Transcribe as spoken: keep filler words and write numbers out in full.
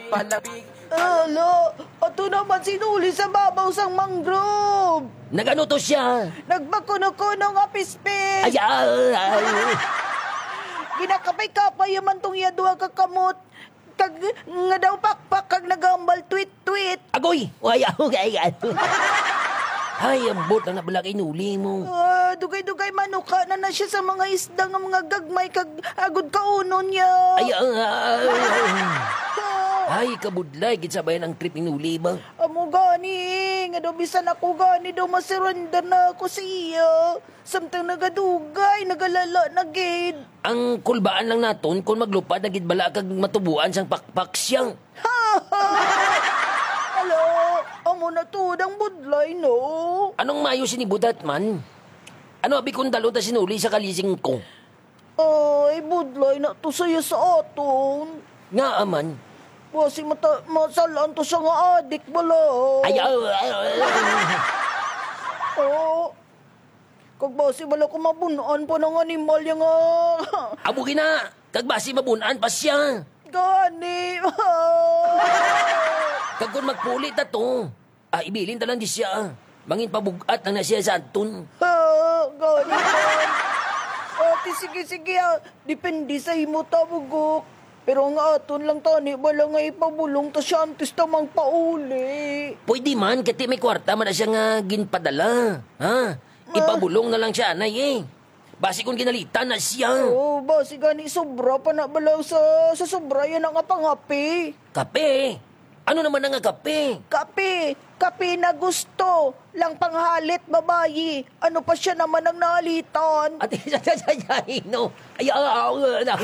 Palabig. Ala, ato naman si Nuli sa babaw sang mangrove. Nagano to siya? Nagpakuno-kuno nga pispis. Ay, ay, ay. Ginakapay-kapay man tong iya duha ka kamot. Kag nga daw pakpak kag nagambal tweet-tweet. Agoy! Ay, ay, ay, ay. Ay, ambot na na bala kay Nuli mo. Ah, dugay-dugay manuka na na siya sa mga isda nga mga gagmay kag agod kaunon niya. Ay, ah, ah, ah, ah. Ah. Ay, kabudlay, gid sabayan ang trip ni Nuli ba? Amo gani, nga daw bisan ako gani daw masurrender na ako sa iya. Samtang nagadugay, nagalala na gid. Ang kulbaan lang naton kung maglupad na gid bala kag matubuan sang pakpak siya. Hala, amo na tuod ang budlay, no? Anong mayo sini budat man? Ano abi kung dalon ta si Nuli sa kalising ko? Ay, budlay na to saya sa aton. Ngaa man? Basi mata, masalaan to siya nga adik bala. Ay, ah, ah, ah, ah. Oh. Kag basi bala ko mabun-an pa ng animal yang, ah. Amo gina, kag basi mabun-an pa siya. Gani. Kag kung magpuli ta to, ah, ibilin ta lang di siya, ah. Mangin pabug-at lang na siya sa aton. Ah, gani man. Ate, sige, sige, ah. Depende sa imo ta, bugok. Pero ang aton lang tani bala nga ipabulong ta siya antes ta mangpauli. Pwede man, kati may kwarta man na siya nga ginpadala. Ha? Ah. Ipabulong na lang siya, anay, eh. Basi kung ginalitan na siya. Oh, basi gani sobra pa na bala sa, sa sobra yan ang pangapi. Kape? Ano naman na nga kape? Kape, kape na gusto lang panghalit babayi. Ano pa siya naman ang nahalitan? Ate, sa, sa, sa, sa, no? Ay, ah, ah, ah, ah.